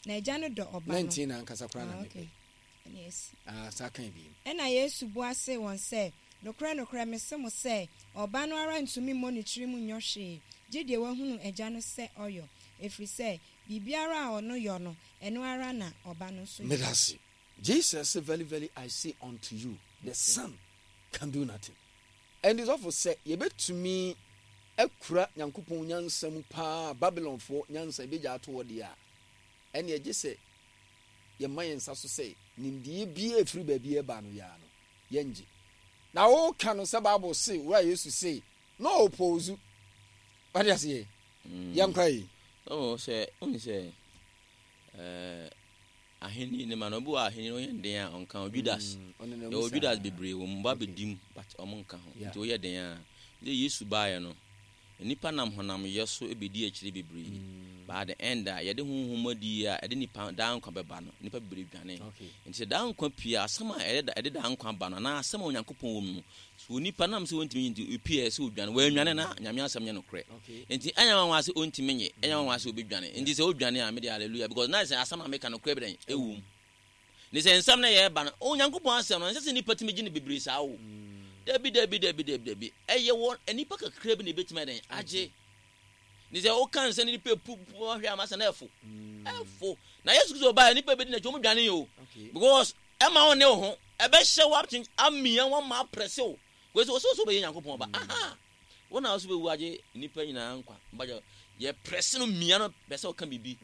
Na Agya no dɔ Ɔba no. 19 na ankasa koraa na Ah, mepɛ. okay. Ɛne asi. Ah, saa kan bi. Ɛnna Yesu bua see wɔn sɛ, Nokorɛ, nokorɛ, mese mo sɛ, Ɔba no ara ntumi mmɔ ne tirim nyɔ hwee, gye deɛ wahunu Agya no sɛ ɔyɔ, ɛfiri sɛ, biribiara a ɔno yɔ no, ɛno ara na Ɔba no nso yɔ. Meda ase. Jesus se, Verily, verily, I say unto you, the Son can do nothing. Ɛnde sɔfo, sɛ yɛbɛtumi akura Nyankopɔn nyansa mu paa a Babilonfoɔ nyansa yɛbɛgya ato hɔ deɛ a, ɛnneɛ gye sɛ yɛma yɛn nsa so sɛ nimdeɛ biara a ɛfiri baabi reba no yɛa no, yɛngye. Na woka no sɛ Bible se, Wura Yesu se, na ɔɔpoozu. Wate aseɛ? Yɛnkɔ yi. Oh, sɛ, wohu sɛ, eh, Ahenni no ma no obi wɔ ahenni no ɔyɛ den a ɔnka ho Judas mm, yɛwɔ Judas bebree wɔ mu ba bɛdi mu but ɔmo nka ho nti woyɛ den a sɛ Yesu baeɛ no nnipa nam honam yɛ so bɛdi akyire bebree mm. but at the end a yɛde honhom adi a ɛde nipa daa nkwa bɛba no nipa bebree dwane nti sɛ daa nkwa pie a asɛm a ɛde daa nkwa ba no anaa asɛm a Onyankopɔn wɔ mu no So onipa nam sɛ ɔntumi nye nti ɔpie sɛ ɔdwane? Wannwane na Nyame asɛm nyɛ nokorɛ. Nti ɛnyɛ nwanwa sɛ ɔntumi nye, ɛnyɛ nwanwa sɛ ɔbɛdwane. Nti sɛ ɔdwane a, mede hallelujah because na sɛ asɛm a meka nokorɛ bi dɛn? Ɛwɔ mu. Ne sɛ nsɛm no yɛreba no, Onyankopɔn asɛm no, ɛnsɛ sɛ nnipa tumi gye no bebree saa o. Dabi, dabi, dabi, dabi, dabi. Ɛyɛ wɔ nnipa kakra bi na ɛbɛtumi ayɛ dɛn? Agye. Ne sɛ woka nsɛm no nipa pu pu ahwɛ ama sɛ na ɛfo. Ɛfo. Na Yesu Kristo ɔbaeɛ nipa bɛdi n'akyi wɔn dwane o. Because ɛma wo ne wo ho ɛbɛhyɛ wo akyen amia wo ama aprɛse wo. Because wɔsɛ wɔsɛ wobɛyɛ Nyankopɔn ba. Aha. Wo na wɔsɛ bɛwu agye nipa nyinaa nkwa. Mbagya yɛ prɛse no mia no pɛ sɛ ɔka biribi.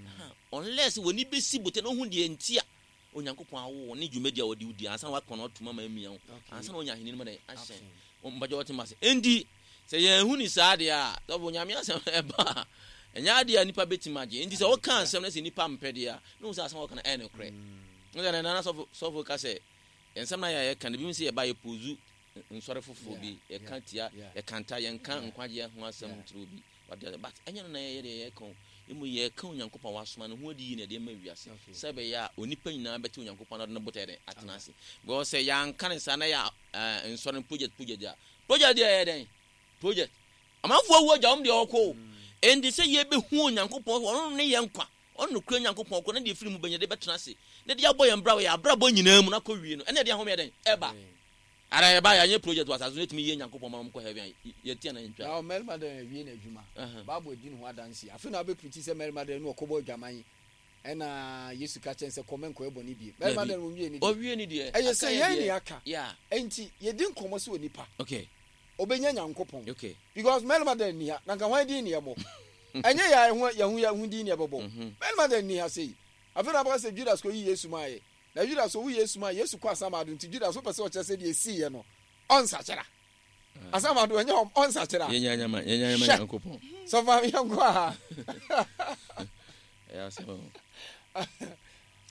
Aha. Unless w'ani bɛsi bote na wohu deɛ nti a Onyankopɔn awo wo ne dwumadi a ɔde wo di ansa na wakɔ no atum ama amia wo ansa na wanya ahenni no mu dɛn ahyɛn mpagya wɔte ma se enti sɛ yɛn hu ni saa deɛ a sɔfo Nyame asɛm ɛba a ɛnyɛ adeɛ a nipa bɛtumi agye enti sɛ woka asɛm no sɛ nipa mpɛ deɛ a na wo sɛ asɛm a wɔka no ɛyɛ nokorɛ mm. sɛ nana sɔfo sɔfo ka sɛ nsɛm no yɛ yɛka no bi sɛ yɛba yɛ pozu nsɔre foforɔ bi yɛka tia yɛkanta yɛnka nkwagyeɛ ho asɛm kyerɛ obi Wate aseɛ? But ɛnyɛ no na yɛyɛ deɛ yɛreka o. Mmom yɛreka Onyankopɔn a wasoma no ho adi yie na yɛde ama wiase. Sɛ ɛbɛyɛ a onipa nyinaa bɛte Onyankopɔn na ɔde ne botaeɛ dɛn? Atena ase. Because sɛ yɛanka no saa na yɛ eh, nsɔre no project project a, project deɛ ɛyɛ dɛn? Project. Amanfoɔ awu agya wɔn deɛ ɔkɔ o. Enti sɛ yɛbɛhu Onyankopɔn, ɔno ne yɛn nkwa, ɔno nokorɛ Nyankopɔn koro, na deɛ ɛfiri mu bɛnya de bɛtena ase, na de abɔ yɛn bra wɔ yɛn abrabɔ nyinaa mu na akɔ wie no, ɛna ɛde ahomeɛ dɛn? Ɛba. Ara yɛba yɛanyɛ project wɔ asase so na yɛtumi yɛ Nyankopɔn ma wɔkɔ heaven a, yɛte anaa yɛntwa? Na ɔmarima dɛn awie n'adwuma? Bible adi ne ho adanse. Afei na wabɛprikyi sɛ mmarima dɛn na ɔkɔbɔ adwaman ɛna Yesu ka kyerɛ no sɛ kɔ mɛnkɔyɛ bɔne bio. Mmarima dɛn wɔnwie ne deɛ? Ɔwie ne deɛ. Ɛyɛ sɛ yɛn ne yɛaka. Enti yɛdi nkɔmmɔ sɛ onipa ɔbɛnya Nyankopɔn because mmarima dɛn nni ha na nka hwan din ne yɛbɔ? Ɛnyɛ yɛn a yɛn ho din ne yɛbɛbɔ. Mmarima dɛn nni ha sei? Afei na wabɛka sɛ Judas kɔyi Yesu maeɛ. Na Judas owu Yesu mu a, Yesu kɔ asamado nti Judas wopɛ sɛ ɔkyerɛ sɛ deɛ esiiɛ no ɔnsakyera. Asamado ɛnyɛ hɔ ɔnsakyera. Yɛnya nyama yɛnya nyama Hwɛ Nyankopɔn. sɔfo yɛnkɔ aha. Ɛyɛ asɛm o.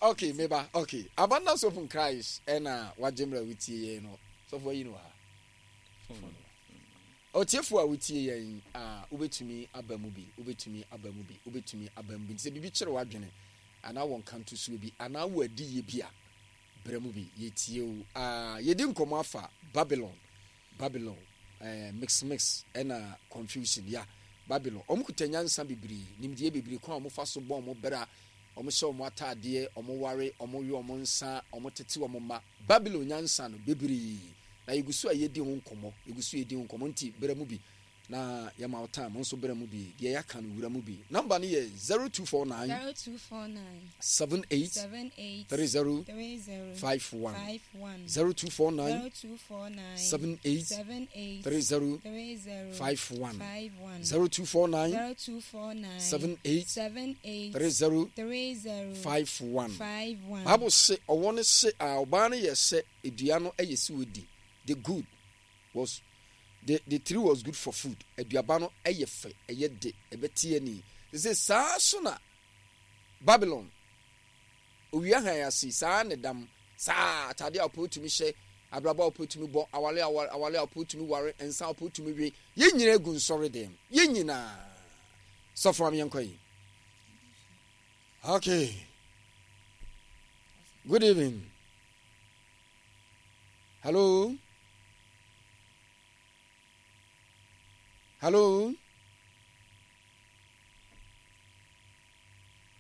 Okay meba okay Abundance Hope in Christ ɛna wagye mmerɛ wotie yɛn no sɔfo ayi no wɔ ha. Otiefo a wotie yɛn a wobɛtumi aba mu bi wobɛtumi aba mu bi wobɛtumi aba mu bi nti sɛ biribi kyere w'adwene anaa wɔ nkantosoɔ bi anaa wɔ adiyie bi a, brɛ mu bi. Yɛtie wo. Ah, yɛdi nkɔmmɔ afa Babylon, Babylon, eh, mix mix, ɛna confusion, ya. Babylon, wɔn kuta nyansa bebree, nimdeɛ bebree, kwan a wɔn fa so bɔ wɔn bra, wɔn hyɛ wɔn ataadeɛ, wɔn ware, wɔn we wɔn nsa, wɔn tete wɔn mma. Babylon nyansa no, bebree. Na yɛgu so a yɛdi ho nkɔmmɔ, yɛgu so yɛdi ho nkɔmmɔ, nti brɛ mu bi. Na yɛma wo time nso brɛ mu bi. Deɛ yɛaka no wura mu bi. Number no yɛ 0249 0249 78 78 30 30 51 51 0249 0249 78 78 30 30 51 51 0249 0249 78 78 30 30 51. 51. Bible se ɔwɔ no se a ɔbaa no yɛ sɛ dua no yɛ sɛ ɔdi the good was the the tree was good for food aduaba no yɛ fɛ ɛyɛ de ɛbɛte ani sɛ saa so na Babylon owia han ase saa ne dam saa atade a ɔpɛ otumi hyɛ abrabɔ a ɔpɛ otumi bɔ awale a awale a ɔpɛ otumi ware nsa a ɔpɛ otumi we yɛn nyinaa gu nsɔre dɛm yɛn nyinaa sɔfo am yɛnkɔ yi okay good evening Hello? Hello?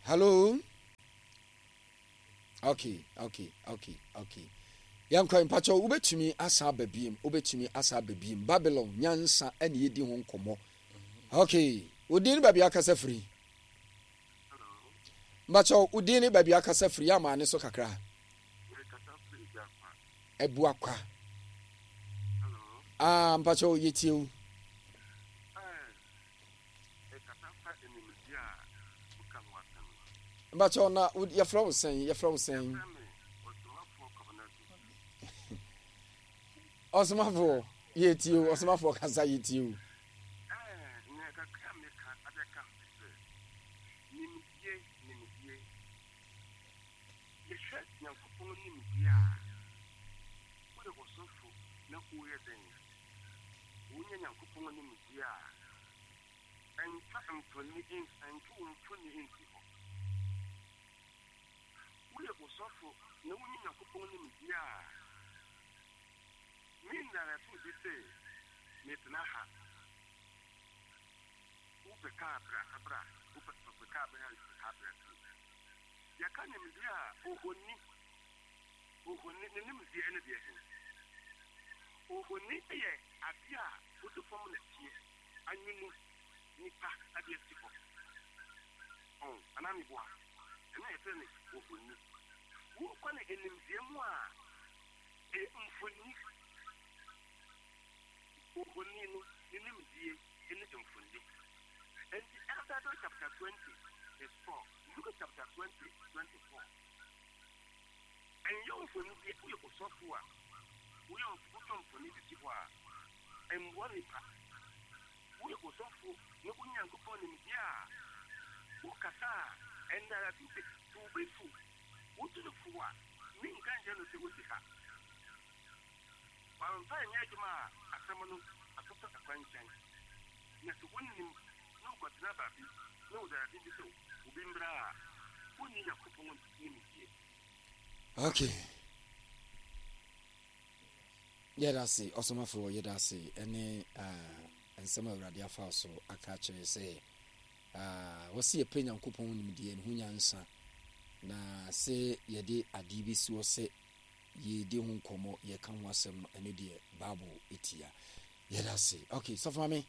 Hello? Okay, okay, okay, okay. Yɛnkɔ mpakyɛw, wobɛtumi asan aba biem, wobɛtumi asan aba biem. Babylon nyansa ɛne yɛdi ho nkɔmmɔ. Okay, wo din ne baabi akasa firi? Mpakyɛw, wo din ne baabi akasa firi yɛ amaa ne so kakra. Abuakwa. Ah, mpakyɛw yɛtie wo. Mpakyɛw na yɛfrɛ wo sɛn? Yɛfrɛ wo sɛn? Ɔsomafoɔ yɛtie o, ɔsomafoɔ kasa yɛtie o. Yɛhwɛ Nyankopɔn nimdeɛ a, woyɛ ɔsɔfo na woyɛ dɛn? Wonya Nyankopɔn nimdeɛ a, ɛntwa mfoni ɛntwe wo mfoni nsi hɔ. Woyɛ ɔsɔfo na wonya Nyankopɔn nimdeɛ a, me nnarɛto bi se metena ha. Wopɛ kaa bra bra, wopɛ kaa bra kaa bra. Yɛka nimdeɛ a, ohoni, ohoni, ne nimdeɛ ne deɛ he? Ohoni yɛ adeɛ a wode fam nɛteɛ anwene nipa de asi hɔ. Ɔn, anaa meboa? Ɛno na yɛfrɛ no ohoni. Wokɔ no nimdeɛ mu a, ɛyɛ mfoni. Ohoni no, ne nimdie ne mfoni. Enti Exodus chapter 20 verse 4, Luke chapter 20, 24. Ɛnyɛ mfoni bi, woyɛ osɔfo a, woyɛ wotwa mfoni de si hɔ a, ɛmmoa nipa. Woyɛ osɔfo na wo Nyankopɔn nimdeɛ a, wokasa a, ɛnnaratu sɛ sɛ obi fo, wotu no fo a, menka nkyerɛ no sɛ wosi ha. Wamfa anyɛ adwuma a asɛm no atotɔ kwankyɛn. Na sɛ wonnim na wokɔtena baabi na wɔde ade bi sɛ obi mmra a, wonni Nyankopɔn nimdeɛ. Okay. Yɛda ase ɔsomafo yɛda ase ɛne uh, nsɛm a Awurade afa so aka akyerɛ sɛ uh, wɔsi yɛpɛ Nyankopɔn nimdeɛ ne ho nyansa na sɛ yɛde adeɛ bi si hɔ sɛ yɛredi ho nkɔmmɔ, yɛreka ho asɛm no, ɛno deɛ Bible tia. Yɛda ase. Okay, sɔfo maame,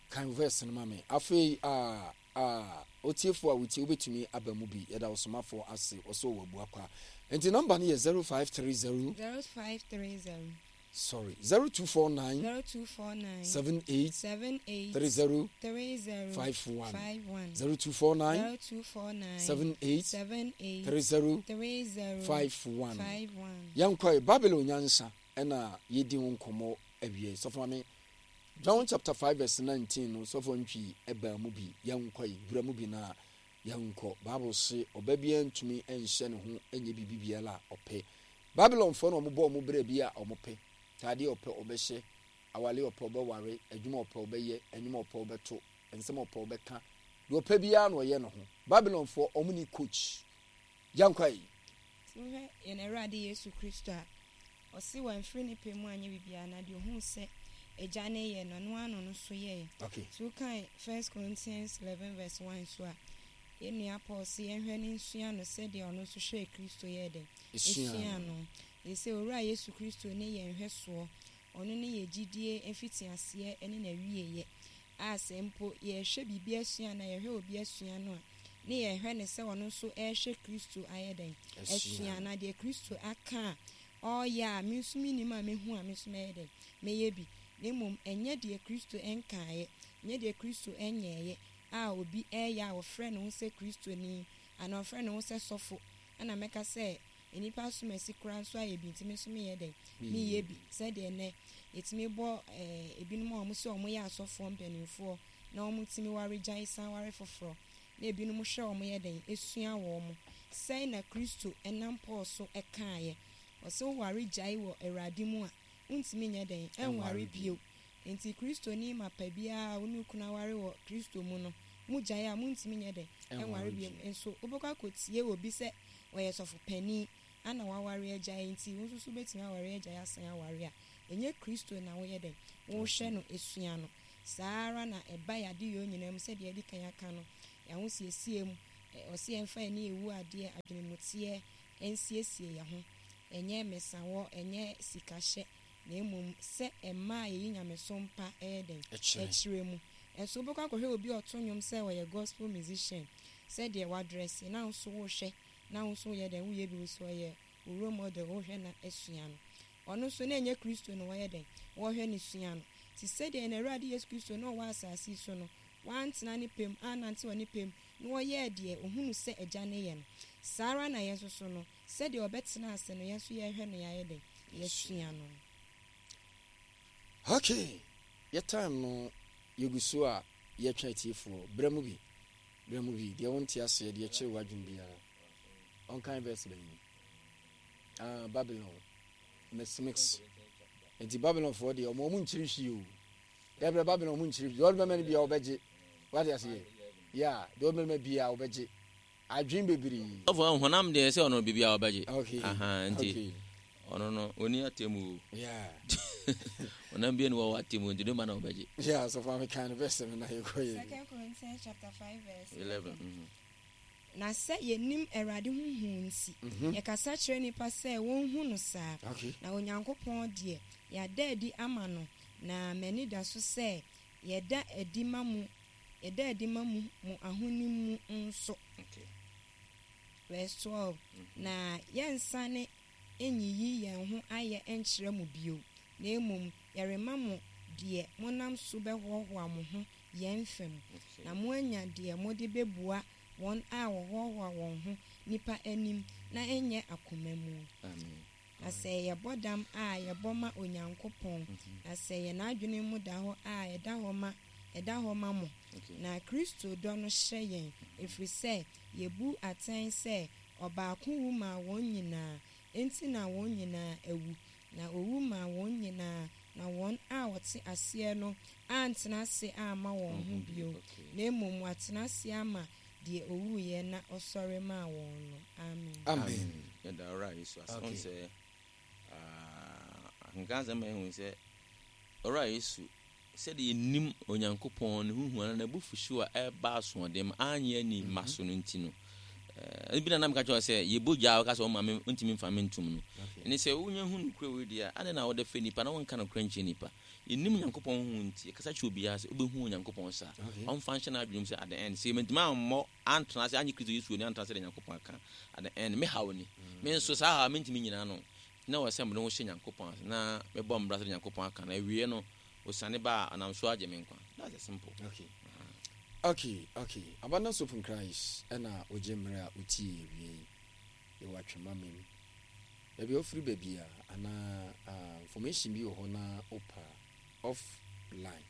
kan verse no ma me. Afei, ah, ah, otiefo a wotie, wobɛtumi aba mu bi. Yɛda ɔsomafoɔ ase, ɔsɛ ɔwɔ abua kwa. Nti nɔmba no yɛ 0530. 0530. Sorry, 0249. 0249. 78. 78. 30. 30. 51. 51. 0249. 0249. 78. 78. 30. 30. 51. 51. Yɛnkɔe, Babylon nyansa ɛna yɛdi ho nkɔmmɔ awie. Sɔfo maame, John chapter 5 verse 19 no, sɔfo ntwi ɛbaa mu bi. Yɛnkɔe, wura mu bi na yɛnkɔ. Bible se ɔba biara ntumi nhyɛ ne ho nyɛ biribi biara a ɔpɛ. Babylonfoɔ na wɔbɔ wɔn bra bi a wɔpɛ. Taadeɛ ɔpɛ ɔbɛhyɛ, awale ɔpɛ ɔbɛware, adwuma ɔpɛ ɔbɛyɛ, nnwom ɔpɛ ɔbɛto, nsɛm ɔpɛ ɔbɛka. Deɛ ɔpɛ biara na ɔyɛ ne ho. Babylonfoɔ wɔn ni coach. Yɛnkɔ yi. Sɛ wohwɛ yɛn Awurade Yesu Kristo a, ɔse wamfiri ne pɛ mu anyɛ biribiara, na deɛ ohuu sɛ Agya no reyɛ no, ɛno ara na ɔno nso yɛeɛ. Okay. Nti wokan First Corinthians 11 verse 1 so a, yɛn nua Paul se yɛnhwɛ no nsua no sɛdeɛ ɔno nso hwɛɛ Kristo yɛɛ dɛn? Esuaa Esuaa no. no. Ɛfiri sɛ Owura Yesu Kristo ne yɛn nhwɛsoɔ, ɔno ne yɛn gyidie mfitiaseɛ ne n'awieeɛ, a sɛ mpo yɛrehwɛ biribi asua anaa yɛhwɛ obi asua no a, ne yɛhwɛ no sɛ ɔno nso rehwɛ Kristo ayɛ dɛn? Asua Asua. no. Na deɛ Kristo aka a ɔreyɛ a me nso mennim a mɛhu a me nso mɛyɛ dɛn? Mɛyɛ bi. Na mmom ɛnyɛ deɛ Kristo nkaeɛ, nyɛ deɛ Kristo nyɛeɛ a obi reyɛ a ɔfrɛ ne ho sɛ Kristoni anaa ɔfrɛ ne ho sɛ sɔfo ɛna mɛka sɛ nnipa asomasi koraa nso ayɛ bi nti me nso meyɛ dɛn? Meyɛ bi. Sɛdeɛ nnɛ yɛtumi bɔ eh, ebinom a wɔn sɛ wɔyɛ asɔfoɔ mpanimfoɔ na wɔtumi ware gyae san ware foforɔ na ebinom hwɛ wɔn yɛ dɛn? Esua wɔn. Sɛn na Kristo nam Paul so kaeɛ? Ɔse woware gyae wɔ Awurade mu a, wontumi nyɛ dɛn? Ɛnware bio. Enti Kristoni mapa biara a wo ne wo kunu aware wɔ Kristo mu no, mogyae a, montumi nyɛ dɛn? Ɛnware bio. Nso wobɛkɔ akɔtie obi sɛ ɔyɛ sɔfo panin ana waware agyae nti wo nso so wobɛtumi aware agyae asan aware a, ɛnyɛ Kristo na woyɛ dɛn? Wohwɛ no sua no. Saa ara na ɛba yɛn adeyɔ nyinaa mu sɛdeɛ yɛadi kan aka no, yɛn ahosiesie mu, ɔse yɛmfa yɛn ani nwu adeɛ, adwenemuteɛ, nsiesie yɛn ho, ɛnyɛ mmesawɔ, ɛnyɛ sikahyɛ, na mmom sɛ mmaa a yɛyi nyamesom pa yɛ dɛn? Kyerɛ mu. Nso wobɛkɔ akɔhwɛ obi a ɔto nnwom sɛ ɔyɛ gospel musician, sɛdeɛ wadrɛse, na wo nso wohwɛ, na wo nso woyɛ dɛn? Woyɛ bi, wo nso ɔyɛ wo role model, wohwɛ na asua no. Ɔno nso na ɛnyɛ Kristo na wɔyɛ dɛn? Wɔhwɛ no sua no. Te sɛdeɛ yɛn Awurade Yesu Kristo na ɔwɔ asase yi so no, wantena ne pɛ mu, annante wɔ ne pɛ mu, na ɔyɛɛ deɛ ɔhunu sɛ Agya no yɛ no. Saa ara na yɛn nso so no, sɛdeɛ ɔbɛtena ase no, yɛn nso yɛhwɛ no yɛayɛ dɛn? Yɛasua no. Okay, yɛ time no yɛgu so a yɛtwɛn atiefoɔ. Brɛ mu bi, brɛ mu bi, deɛ wonte aseɛ, deɛ ɛkyere w'adwene biara. Ɔnkan verse bɛn yi? Ah, Babylon. Mix mix. Nti Babylonfoɔ deɛ ɔmo ɔmo nkyiri hwee o. Dɛbrɛ Babylon ɔmo nkyiri hwee. Deɛ ɔde bɛma no biara ɔbɛgye. Wate aseɛ? Yeah, deɛ ɔde bɛma biara ɔbɛgye. Adwene bebree. Ɔfɔ honam deɛ sɛ ɔno biribiara ɔbɛgye. Okay. Aha, nti Okay. ɔno no ɔni atemu o. Yeah. Honam bi ni wɔ atemu nti de ma na ɔbɛgye. Yeah, so fa me kan no verse no na yɛkɔ yɛ. Second Corinthians chapter 5 verse 11. Mhm. Na sɛ yennim Awurade ho hu nti, yɛkasa kyerɛ nnipa sɛ wonhu no saa. Na Onyankopɔn deɛ, yɛada adi ama no, na m'ani da so sɛ yɛda adi ma mo, yɛda adi ma mo mo ahonim mu nso. Verse 12, Na yɛnsane nyiyi yɛn ho ayɛ nkyerɛ mo bio, na mmom yɛrema mo deɛ monam so bɛhoahoa mo ho yɛn fam, na moanya deɛ mode bɛbua wɔn a wɔhoahoa wɔn ho nnipa anim na ɛnyɛ akoma mu. Na sɛ yɛbɔ dam a, yɛbɔ ma Onyankopɔn, na sɛ yɛn adwene mu da hɔ a, ɛda hɔ ma ɛda hɔ ma mo. Na Kristo dɔ no hyɛ yɛn, ɛfiri sɛ yɛbu atɛn sɛ ɔbaako wu maa wɔn nyinaa, enti na wɔn nyinaa awu. Na owu maa wɔn nyinaa, na wɔn a wɔte aseɛ no antena ase amma wɔn ho bio, na mmom wɔatena ase ama deɛ ɔwuiɛ na ɔsɔre maa wɔn no. Amen. Amen. Yɛda Owura Yesu ase. Okay. Wohu sɛ, ah, akenkan asɛm ma yɛhu sɛ Owura Yesu, sɛdeɛ yɛnim Onyankopɔn ne ho hu anaa n'abufuhyew a ɛreba asoɔden ma anyɛ ani mma so no nti no, eh, ebi na na meka kyerɛ wo sɛ yɛbɔ gya a wɔka sɛ ɔma me ntumi mfa me ntom no. Ɛne sɛ wonya hu nokorɛ wei deɛ a, adɛn na wode fɛ nipa na wonka nokorɛ nkyerɛ nipa? Yɛnnim Onyankopɔn ho hu nti, yɛkasa kyerɛ obiara sɛ wobɛhu Onyankopɔn saa. Ɔmfa nhyɛ n'adwene mu sɛ at the end, sɛ mantumi ammɔ antena ase annye Kristo Yesu anni antena ase sɛdeɛ Nyankopɔn aka at the end, me haw ni. Me nso saa haw a mentumi nnyina ano. Nti na ɛwɔ sɛ mede ho hyɛ Nyankopɔn ase na mebɔ mbra sɛdeɛ Nyankopɔn aka no. Awieɛ no, osiane ba a, ɔnam so agye me nkwa. That's the simple. Okay. Okay, okay. Abundance Hope in Christ ɛna wogye mmerɛ a wotie yɛ wie yi. Yɛwɔ Atwema Mem. Baabi a wofiri ba biara anaa ah, information bi wɔ hɔ na wopɛ a, off line.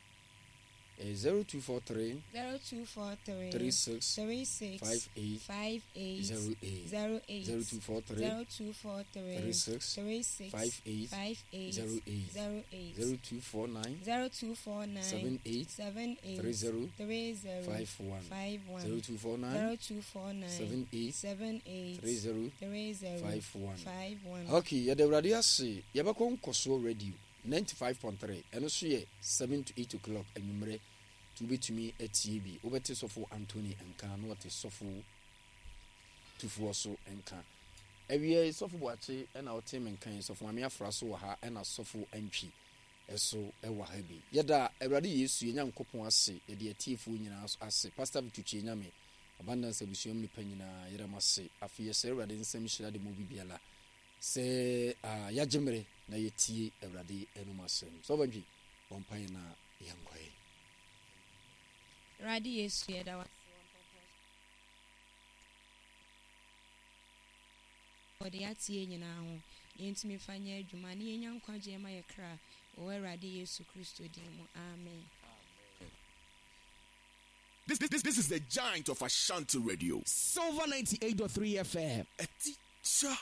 Ɛyɛ 0243 0243 36 36 58 58 08. 08 0243 0243 36 36 58 58 08. 08 0249 0249 78 78 30 30 51. 51 0249 0249 78 78 30 30 51. 51. Okay, yɛda Awurade ase. Yɛbɛkɔ nkɔsoɔ radio 95.3. Ɛno nso yɛ 7 to 8 o'clock anwummerɛ. Nti wobɛtumi atie bi. Wobɛte sɔfo Anthony nka na wɔte sɔfo Tufoɔ so nka. Awia yi sɔfo Boakye ɛna wote me nka yi. Sɔfo Maame Afra so wɔ ha ɛna sɔfo Antwi ɛso ɛwɔ ha bi. Yɛda Awurade Yesu yɛn Nyankopɔn ase. Yɛde atiefoɔ nyinaa ase. Pastor Victor Kyenyame, Abundance abusua mu nipa nyinaa yɛda mo ase. Afei yɛsrɛ Awurade nsɛm nhyira de ma obi biara sɛ ah, yɛagye mmere na yɛtie Awurade anom asɛm. Sɔfo Antwi, bɔ mpaeɛ na yɛnkɔ yi. Awurade Yesu, yɛda wo ase wɔ mpɔmpɔn so wɔde atie nyinaa ho na yɛntumi mfa nyɛ adwuma na yɛnya nkwagyeɛ ma yɛ kra wɔ Awurade Yesu Kristo din mu. Amen. This is the giant of Ashanti Radio. Silver 98.3 FM. A teacher.